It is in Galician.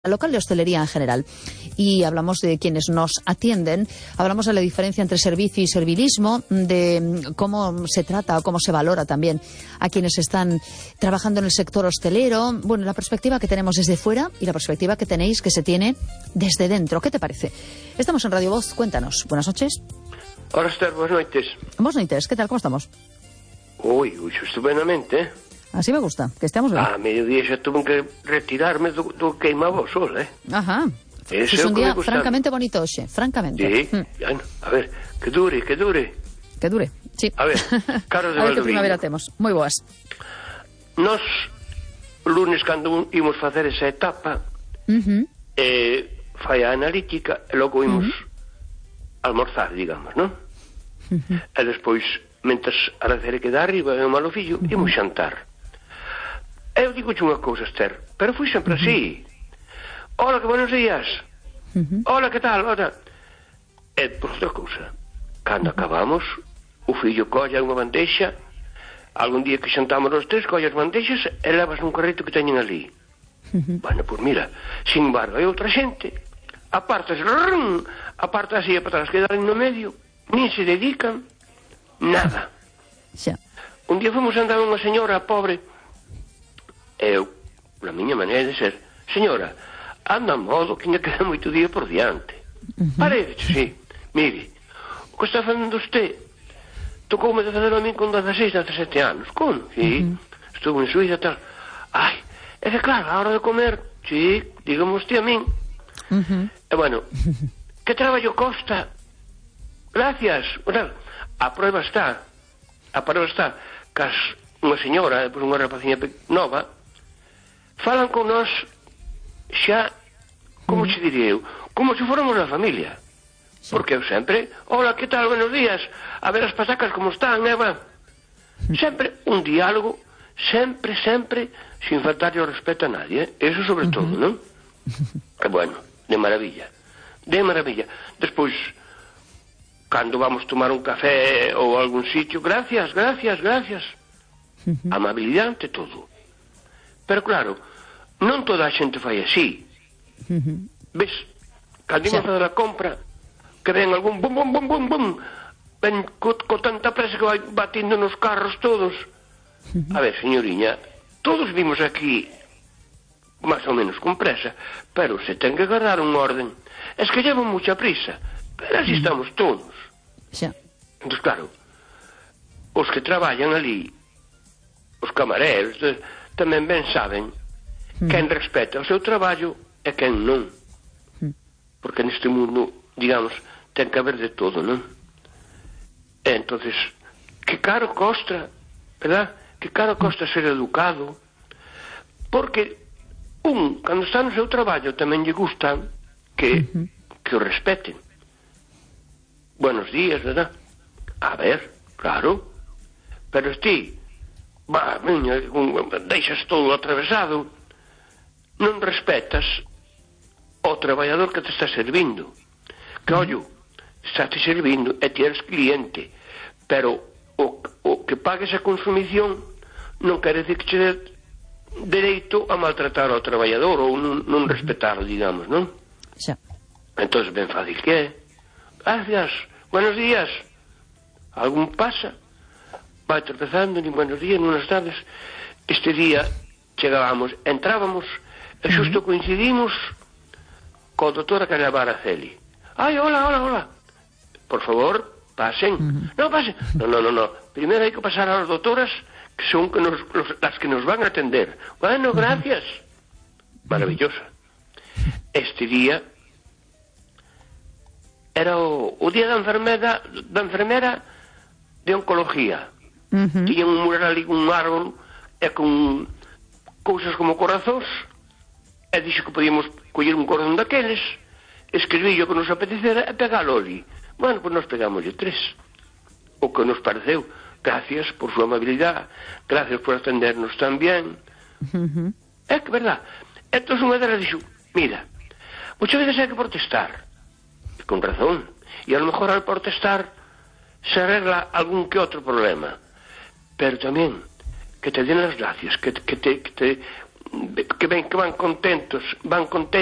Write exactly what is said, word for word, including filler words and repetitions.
local de hostelería en general. Y hablamos de quienes nos atienden, hablamos de la diferencia entre servicio y servilismo, de cómo se trata o cómo se valora también a quienes están trabajando en el sector hostelero. Bueno, la perspectiva que tenemos desde fuera y la perspectiva que tenéis que se tiene desde dentro. ¿Qué te parece? Estamos en Radio Voz, cuéntanos. Buenas noches. Hola, Esther, buenas noches. Buenas noches, ¿qué tal? ¿Cómo estamos? Uy, uy, estupendamente, eh? Así me gusta, que estemos bien. A mediodía xa tuve que retirarme do, do queimado sol, eh? Ajá. Ese é un día francamente bonito hoxe, francamente. Sí, mm. bueno, a ver, que dure, que dure. Que dure, sí. A ver, Carlos de A ver que Valdoviño. primavera temos. Moi boas. Nos, lunes, cando imos facer esa etapa, Uh-huh. eh, fai a analítica, e logo imos uh-huh. almorzar, digamos, non? Uh-huh. E despois, mentres a recere que dá arriba e o malo fillo, uh-huh. imos xantar. Eu digo unha cousa, Esther, pero fui sempre uh-huh. así. Hola, que buenos días. Uh-huh. Hola, que tal? Hola. E por outra cousa, cando uh-huh. acabamos, o fillo colla unha bandeixa, algún día que xantamos os tres, colla as bandeixas e levas nun carrito que teñen ali. Uh-huh. Bueno, pois mira, sin embargo, hai outra xente, apartas, rrrm, aparta así e para atrás, quedan no medio, nin se dedican nada. Xa. Un día fomos andar unha señora pobre, eu, na miña maneira de ser, señora, anda a modo que ainda queda moito día por diante. Uh-huh. Parece, sí. Mire, o que está facendo usted, tocoume de fazer a min con dezaseis, dezasete anos. Como? Sí. Uh-huh. Estuve en Suiza e tal. Ai, é que claro, a hora de comer, sí, dígame usted a min. Uh-huh. E bueno, que traballo costa? Gracias. Bueno, a prueba está, a prueba está, cas unha señora, depois unha rapaciña nova, falan con nós xa, como se diría eu, como se fóramos a familia. Sí. Porque eu sempre, hola, que tal, buenos días, a ver as pasacas como están, Eva. Sempre un diálogo, sempre, sempre, sin faltarlle o respeto a nadie, eh? Eso sobre uh-huh. todo, non? E bueno, de maravilla, de maravilla. Despois, cando vamos tomar un café ou algún sitio, gracias, gracias, gracias. Uh-huh. Amabilidade ante todo. Pero claro, non toda a xente fai así. Uh-huh. Ves, cando imos a fazer a compra, que ven algún bum, bum, bum, bum, bum, ven co, co tanta presa que vai batindo nos carros todos. Uh-huh. A ver, señoriña, todos vimos aquí máis ou menos con presa, pero se ten que agarrar un orden. Es que llevan mucha prisa, pero así uh-huh. estamos todos. Xa. Entón, claro, os que traballan ali, os camareros, de, tamén ben saben mm. quen respeta o seu traballo e quen non. Mm. Porque neste mundo, digamos, ten que haber de todo, non? E entonces, que caro costa, verdad? Que caro costa ser educado, porque un, cando está no seu traballo, tamén lle gustan que, mm-hmm. que o respeten. Buenos días, verdad? A ver, claro, pero ti, va, miña, deixas todo atravesado, non respetas o traballador que te está servindo. Que, ollo, está te servindo e ti eres cliente, pero o, o que pagues a consumición non quere decir que che dé dereito a maltratar ao traballador ou non, non respetar, digamos, non? Xa. Entón, ben fácil que é. Gracias, buenos días. Algún pasa? Vai tropezando, ni buenos días, buenas tardes. Este día chegábamos, entrábamos e xusto coincidimos co doutora Carabara Celi. Ai, hola, hola, hola. Por favor, pasen. Uh-huh. No, pasen. No, no, no, no. Primeiro hai que pasar a las doutoras que son que nos, los, las que nos van a atender. Bueno, gracias. Uh-huh. Maravillosa. Este día era o, o día da enfermera, da enfermera de oncología. Uh-huh. Tiñan un mural ali con un árbol e con cousas como corazóns e dixo que podíamos coller un cordón daqueles, escribir o que nos apetecera e pegalo ali. Bueno, pois nos pegámoslle tres, o que nos pareceu. Gracias por súa amabilidade, gracias por atendernos tan bien. Uh-huh. É que verdad. Entón unha delas dixo, mira, muchas veces hai que protestar, e con razón, e a lo mejor al protestar se arregla algún que outro problema, pero tamén que te den las gracias, que, que, te, que te que ven que van contentos, van contentas